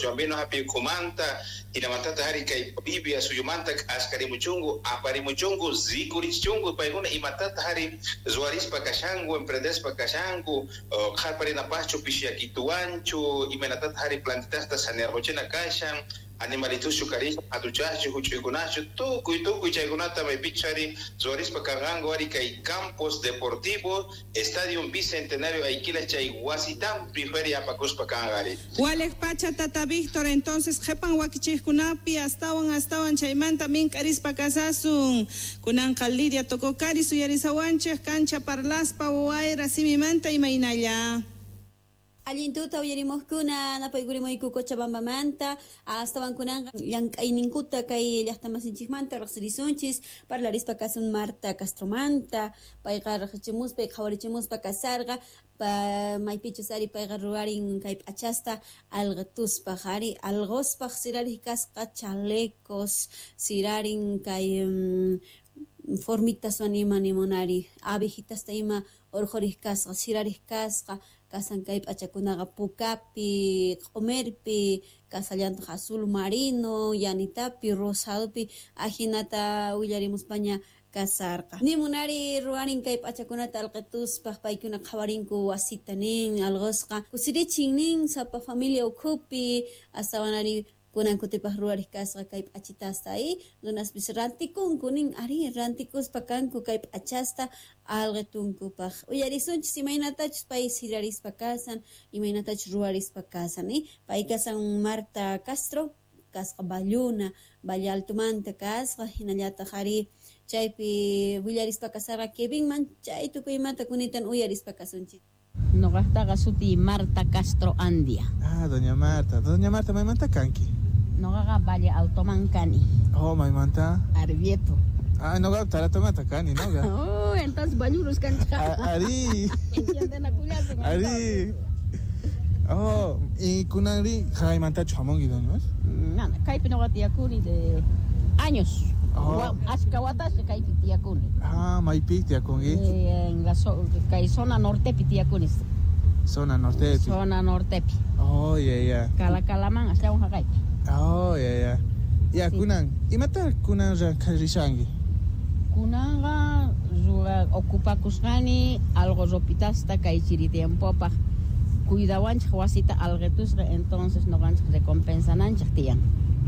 Cochabambino hapi ukhumanta, hinamantataq ari kay Bolivia suyumanta k'askarimuchunku, aparimuchunku, rikurichichunku paykuna imatataq ari ruwarispa kashanku, emprendespa kashanku, qharparinapaqchu pishiyakituwanchu, imaynatataq ari plantitasta sanearquchina kashan, animalituschu karishan, hatuchaqchu, huch'uykunachu, tukuy tukuy chaykunata maypichus ari ruwarispa kanqanku ari kay Campos Deportivo, Estadio Bicentenario Ayquila chay wasitampi feria apakuspa kanqa ari. Walej pacha tata Víctor, entonces qhepan wakichejkunapi astawan astawan chaymanta mink'arispa kasasun. Kunanqa Lidia Tococari suyarisawanchej kancha parlaspa wayra simimanta imaynalla. Allin tuta uyarimuqkuna napaykurimuyku Cochabambamanta astawan kunanqa llank'ayninkuta kay llaqtamasinchikmanta riqsirisunchis parlarispa kasun Marta Castromanta payqa riqsichimuspa qhawarichimuspa kasarqa maypichus ari payqa ruwarin kay p'achasta alqituspaq ari alquspaq sirariq kasqa chalecos sirarin kay formitaswan ima nimunari abejitasta ima urqhuriq kasqa sirariq kasqa kasan kay p'achakunaqa pukapi, q'umirpi, kasallantaq azul marino, yanitapi, rosadopi, ajinata willarimuspaña kasarqa. Nimunari ruwarin kay p'achakunata alqituspaq paykuna qhawarinku wasita nin, alqusqa kusirichin nin, sapa familia ukhupi, astawanari kunan kutipaq ruwariq kasqa kay p'achitasta y runaspis rantikunku nin, ari rantikuspa kanku kay p'achasta alqitunkupaq. Uyarisunchis imaynatachus pay sirarispa kasan, imaynatachus ruwarispa kasan, pay kasan Marta Castro, kasqa Balluna, Valle Altomanta kasqa, hinallataq ari chaypi willarispa kasarqa Kevinman, chay tukuymanta kunitan uyarispa kasunchis. Noqaqtaqa suti Marta Castro Andia. Ah, doña Marta. Doña Marta, maymanta kanki? Noqaqa Valle Altoman kani. Oh, maymanta? Arbieto. Ah, noqa Taratomanta kani, noqa. Oh, entonces Ballurus kanchika. Ari. Ari. Oh, y kunanri jaymantachu hamunki, doña? Nana, kaypi noqa tiyakuni de años. Oh. Ashka watasqa kaypi tiyakuni. Ah, maypi tiyakunki? En la kay zona nortepi tiyakuni. Zona nortepi. Zona nortepi. Oh, yeah, yeah. Calacalaman astawan haqaypi. Oh, yeah, yeah. Ya, Sí. kunan, imata kunan rishanki? Kunanqa ocupakusqani algo ropitasta kay chiri tiempopaq cuidawanchik wasita alqitusqa, entonces noqanchik recompensananchik tiyan.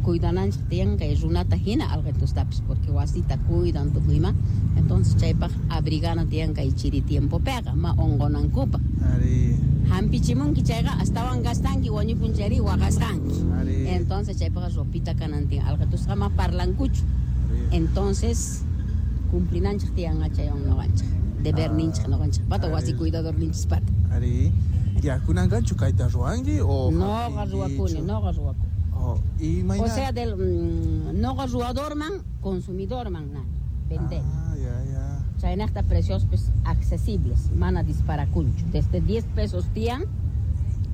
Cuidananchik tiyan kay runata hina alqitustapis porque wasita cuidan tukuyma, entonces chaypaq abrigana tiyan kay chiri tiempopiqa ma unqunankupaq. Ari. Hampichimunki chayqa astawan gastanki wañupun chayri waqasqanki. Ari. Entonces chaypaqqa ropita kanan tiyan alqitusqa ma parlankuchu. Ari. Entonces cumplinanchik tiyan chaywan noqanchik. Deberninchik noqanchik pata wasi Ari. cuidadorninchis pata. Ari. Ya kunanqanchu kayta ruwanki o Noqa ruwakuni, noqa ruwakuni. Oh, y mayna... O sea, del noqa ruwadorman, consumidorman nani, vender. Ah, ya, ya. Chaynaqta precios pues accesibles, mana disparakunchu. Desde 10 pesos tiyan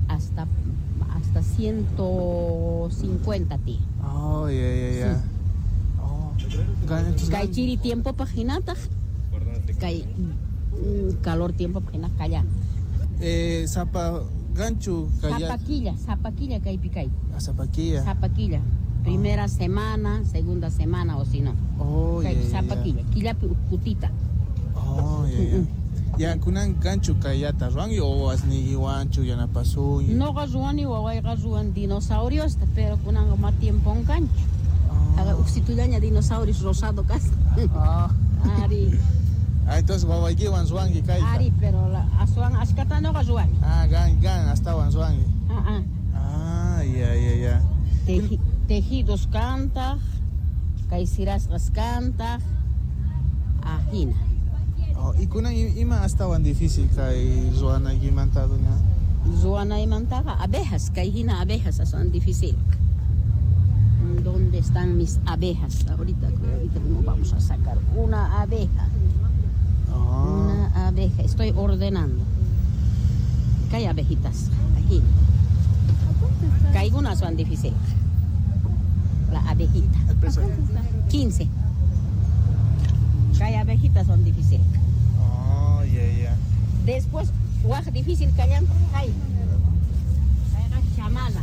hasta 150 tiyan. Oh, ya, ya, ya. Sí. Oh. Kay chiri tiempo paq hinataq, kay calor tiempo paq hinaq kallan. Zapa ganchu kaya. Zapaquilla, zapaquilla kaypi kay. Ah, zapaquilla. Zapaquilla. Primera semana, segunda semana o si no. Oh, Kay ya, ya, ya. zapaquilla, killapi ukkutita. Oh, ya, ya. Ya, kunan ganchu kayata ruwanki o asnigiwanchu yanapasunki. Noqa ruwani wawayqa ruwan dinosauriosta, pero kunanqa ma tiempon kanchu. Oh. Haga uksitullaña dinosaurios rosado kasqa. Ah. Ari. Ah, entonces wawaykiwan ruwanki kayta. Ari, pero la aswan ashkata noqa ruwani. Ah, gan, gan, astawan ruwanki. Ah, ah. Ah, ya, ya, ya. Tejidos kantaq, kay sirasqas kantaq, ajina. Oh, y kunan ima astawan difícil kay ruwanaykimanta, doña? Ruwanaymantaqa abejas, kay hina abejas aswan difícil. ¿Dónde están mis abejas? Ahorita, ahorita mismo vamos a sacar una abeja. Oh. Una abeja, estoy ordenando. Kay abejitas, aquí. Kay unas son difíciles. La abejita. El precio. 15. Kay abejitas son difíciles. Oh, ya, ya. Después, waj difícil callan, kay. Kay chamala.